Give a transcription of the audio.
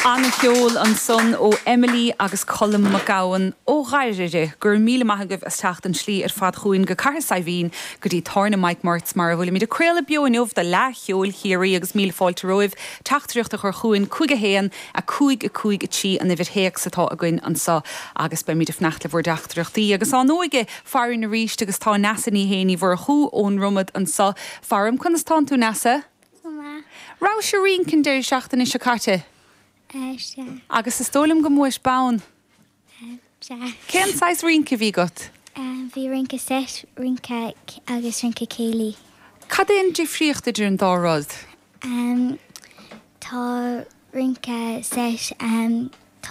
Ana-cheol ansan ó Emily agus Colm Mac Gabhann ó Dhoire. Go raibh míle maith agaibh as teacht an tslí ar fad chugainn go Cathair Saidhbhín go dtí Tábhairne Mike Murts mar a bhfuilimid ag craoladh beo inniu do Fhleadh Cheoil Chiarraí agus míle fáilte romhaibh teachtaireacht a chur chugainn 5 1 5 5 3 an uimhir théacs atá againn anso agus beimid ag fanacht le bhur dteachtaireachtaí agus ár n-óige farainn arís agus tá Neasa Ní Shé Ní Mhurchú ón Dromad anso faram. Conas tánn tú Neasa? Go maith. Rabhais ag rince an deireadh seachtaine seo caite? Sea. Agus is dóigh liom go mbuais bonn. Sea. Cén saghas rince a bhí agat? Bhí rince seit, rince agus rince céilí. Cad é an difríocht idir an dá rud? Tá rince seit.